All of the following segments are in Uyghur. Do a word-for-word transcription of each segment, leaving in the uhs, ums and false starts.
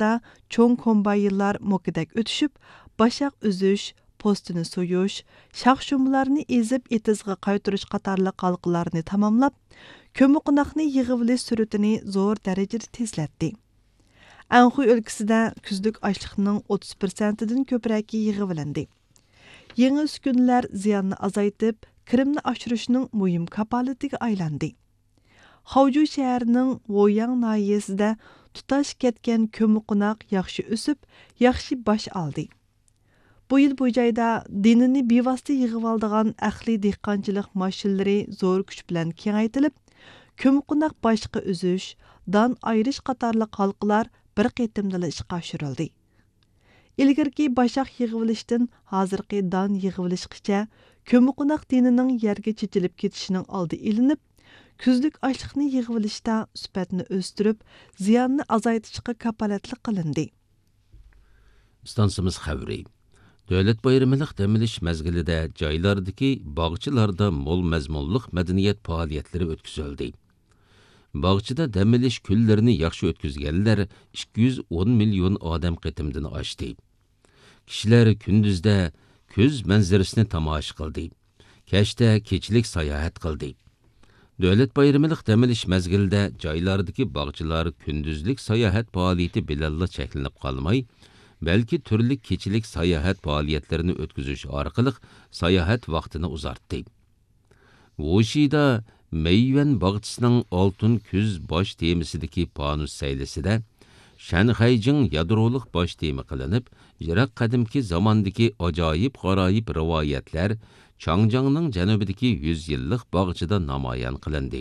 ۋاقىتتا چوڭ كومباينلار موكىدەك ئۆتۈشۈپ، باشاق ئۈزۈش، پوستىنى سويۇش، شاخ-شۇمبىلارنى ئېزىپ ئېتىزغا قايتۇرۇش قاتارلىق ھالقىلارنى تاماملاپ، كۆممىقوناقنى يىغىۋېلىش سۈرئىتىنى زور دەرىجىدە تېزلەتتى. ئەنخۇي ئۆلكىسىدە كۈزلۈك ئاشلىقنىڭ ئوتتۇز پىرسەنتىدىن كۆپرەكى يىغىۋېلىندى. يېڭى ئۈسكۈنىلەر زىياننى ئازايتىپ، كىرىمنى ئاشۇرۇشنىڭ مۇھىم كاپالىتىگە ئايلاندى. خاۋجۇ شەھىرىنىڭ ۋويياڭ ناھىيەسىدە تۇتاش كەتكەن كۆممىقوناق ياخشى ئۆسۈپ، ياخشى باش ئالدى. بۇ يىل بۇ جايدا دېنىنى بىۋاسىتە يىغىۋالىدىغان ئەقلىي دېھقانچىلىق ماشىنىلىرى زور كۈچ بىلەن كېڭەيتىلىپ، كۆممىقوناق باشقا ئۈزۈش، دان ئايرىش قاتارلىق ھالقىلار بىر قېتىمدىلا ئىشقا ئاشۇرۇلدى. ئىلگىرىكى باشاق يىغىۋېلىشتىن ھازىرقى دان يىغىۋېلىشقىچە كۆممىقوناق دېنىنىڭ يەرگە چېچىلىپ كېتىشىنىڭ ئالدى ئېلىنىپ، كۈزلۈك ئاشلىقنى يىغىۋېلىشتا سۈپەتنى ئۆستۈرۈپ، زىياننى ئازايتىشقا كاپالەتلىك قىلىندى. ئىستانسىمىز خەۋىرى. دۆلەت بايرىملىق دەم ئېلىش مەزگىلىدە جايلاردىكى باغچىلاردا مول مەزمۇنلۇق مەدەنىيەت پائالىيەتلىرى ئۆتكۈزۈلدى. باغچىدا دەم ئېلىش كۈنلىرىنى ياخشى ئۆتكۈزگەنلەر ئىككى يۈز ئون مىليون ئادەم قېتىمدىن ئاشتى. كىشىلەر كۈندۈزدە كۈز مەنزىرىسىنى تاماشا قىلدى. كەچتە كېچىلىك ساياھەت قىلدى. دۆلەت بايرىملىق دەم ئېلىش مەزگىلىدە جايلاردىكى باغچىلار كۈندۈزلۈك ساياھەت پائالىيىتى بىلەنلا چەكلىنىپ قالماي، بەلكى تۈرلۈك كېچىلىك ساياھەت پائالىيەتلىرىنى ئۆتكۈزۈش ئارقىلىق ساياھەت ۋاقتىنى ئۇزارتتى. ۋۇشىدا مېييۈەن باغچىسىنىڭ ئالتۇن كۈز باش تېمىسىدىكى پانۇس سەيلىسىدە شەنخەيجىڭ يادرولۇق باش تېما قىلىنىپ، يىراق قەدىمكى زاماندىكى ئاجايىپ-غارايىپ رىۋايەتلەر چاڭجياڭنىڭ جەنۇبىدىكى يۈز يىللىق باغچىدا نامايان قىلىندى.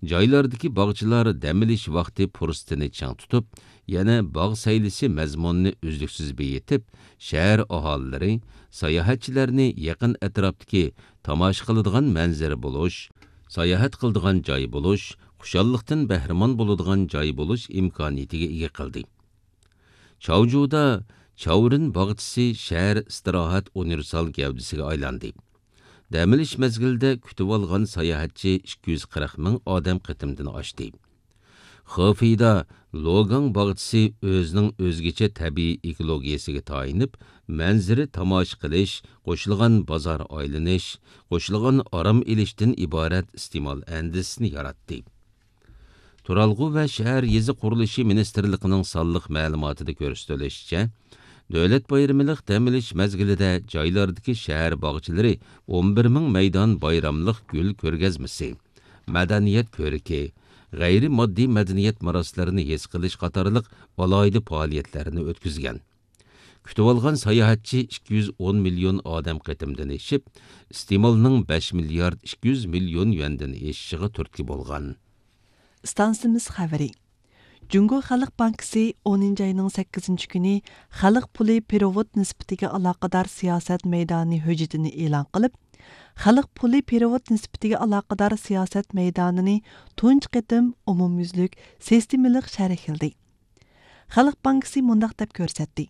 جايلاردىكى باغچىلار دەم ئېلىش ۋاقتى پۇرسىتىنى چىڭ تۇتۇپ، يەنە باغ سەيلىسى مەزمۇنىنى ئۈزلۈكسىز بېيىتىپ، شەھەر ئاھالىلىرى، ساياھەتچىلەرنى يېقىن ئەتراپتىكى تاماشا قىلىدىغان مەنزىرە بولۇش، ساياھەت قىلىدىغان جاي بولۇش، خۇشاللىقتىن بەھرىمەن بولىدىغان جاي بولۇش ئىمكانىيىتىگە ئىگە قىلدى. چاۋجۇدا چاۋرىن باغچىسى شەھەر ئىستىراھەت ئۇنىۋېرسال گەۋدىسىگە ئايلاندى. دەم ئېلىش مەزگىلىدە كۈتۈۋالغان ساياھەتچى ئىككى يۈز قىرىق مىڭ ئادەم قېتىمدىن ئاشتى. خېفېيدا لوگاڭ باغچىسى ئۆزىنىڭ ئۆزگىچە تەبىئىي ئېكولوگىيەسىگە تايىنىپ، مەنزىرە تاماشا قىلىش، قوشۇلغان بازار ئايلىنىش، قوشۇلغان ئارام ئېلىشتىن ئىبارەت ئىستېمال ئەندىزىسىنى ياراتتى. تۇرالغۇ ۋە شەھەر يېزا قۇرۇلۇشى مىنىستىرلىقىنىڭ سانلىق مەلۇماتىدا كۆرسىتىلىشىچە، دۆلەت بايرىملىق دەم ئېلىش مەزگىلىدە جايلاردىكى شەھەر باغچىلىرى ئون بىر مىڭ مەيدان بايراملىق گۈل كۆرگەزمىسى، مەدەنىيەت كۆرىكى، غەيرىي ماددىي مەدەنىيەت مىراسلىرىنى ھېس قىلىش قاتارلىق ئالاھىدە پائالىيەتلەرنى ئۆتكۈزگەن. كۈتۈۋالغان ساياھەتچى ئىككى يۈز ئون مىليون ئادەم قېتىمدىن ئېشىپ، ئىستېمالنىڭ بەش مىليارد ئىككى يۈز مىليون يۈەندىن ئېشىشىغا تۈرتكە بولغان. ئىستانسىمىز خەۋىرى. جۇڭگو خەلق بانكىسى ئونىنچى ئاينىڭ سەككىزىنچى كۈنى خەلق پۇلى پېرېۋوت نىسبىتىگە ئالاقىدار سىياسەت مەيدانى ھۆججىتىنى ئېلان قىلىپ، خەلق پۇلى پېرېۋوت نىسبىتىگە ئالاقىدار سىياسەت مەيدانىنى تۇنجى قېتىم ئومۇميۈزلۈك سىستېمىلىق شەرھلىدى. خەلق بانكىسى مۇنداق دەپ كۆرسەتتى: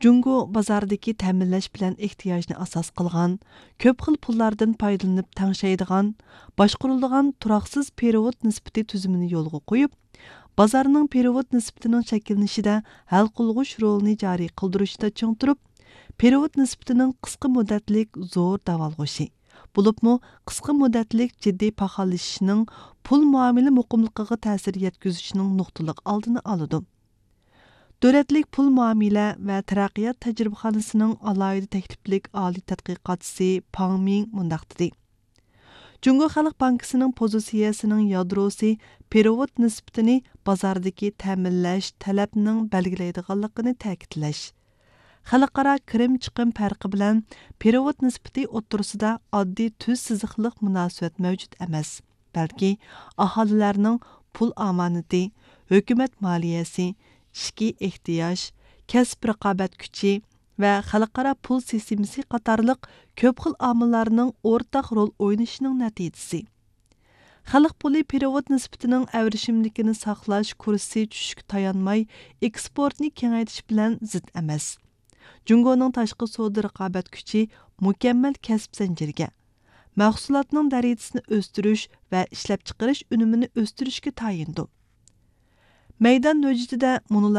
جۇڭگو بازاردىكى تەمىنلەش بىلەن ئېھتىياجنى ئاساس قىلغان، كۆپ خىل پۇللاردىن پايدىلىنىپ تەڭشەيدىغان، باشقۇرۇلىدىغان تۇراقسىز پېرېۋوت نىسبىتى تۈزۈمىنى يولغا قويۇپ، بازارنىڭ پېرېۋوت نىسبىتىنىڭ شەكىللىنىشىدە ھەل قىلغۇچ رولىنى جارى قىلدۇرۇشتا چىڭ تۇرۇپ، پېرېۋوت نىسبىتىنىڭ قىسقا مۇددەتلىك زور داۋالغۇشى، بولۇپمۇ قىسقا مۇددەتلىك جىددىي پاخاللىشىشنىڭ پۇل مۇئامىلە مۇقىملىقىغا تەسىر يەتكۈزۈشىنىڭ نۇقتىلىق ئالدىنى ئالىدۇ. دۆلەتلىك پۇل مۇئامىلە ۋە تەرەققىيات تەجرىبىخانىسىنىڭ ئالاھىدە تەكلىپلىك ئالىي تەتقىقاتچىسى پاڭ مىڭ مۇنداق دېدى: جۇڭگو خەلق بانكىسىنىڭ پوزىتسىيەسىنىڭ يادروسى پېرېۋوت نىسبىتىنى بازاردىكى تەمىنلەش تەلەپنىڭ بەلگىلەيدىغانلىقىنى تەكىتلەش، خەلقئارا كىرىم چىقىم پەرقى بىلەن پېرېۋوت نىسبىتى ئوتتۇرىسىدا ئاددىي تۈز سىزىقلىق مۇناسىۋەت مەۋجۇت ئەمەس، بەلكى ئاھالىلەرنىڭ پۇل ئامانىتى، ھۆكۈمەت مالىيەسى، ئىچكى ئېھتىياج، كەسىپ رىقابەت كۈچى ۋە خەلقئارا پۇل سىستېمىسى قاتارلىق كۆپ خىل ئامىللارنىڭ ئورتاق رول ئوينىشىنىڭ نەتىجىسى. خەلق پۇلى پېرېۋوت نىسبىتىنىڭ ئەۋرىشىملىكىنى ساقلاش كۇرسى چۈشۈشكە تايانماي، ئېكسپورتنى كېڭەيتىش بىلەن زىت ئەمەس. جۇڭگونىڭ تاشقى سودا رىقابەت كۈچى مۇكەممەل كەسىپ زەنجىرىگە، مەھسۇلاتنىڭ دەرىجىسىنى ئۆستۈرۈش ۋە ئىشلەپچىقىرىش ئۈنۈمىنى ئۆستۈرۈشكە تايىنىدۇ. مەيدان ھۆججىتىدە مۇنۇلار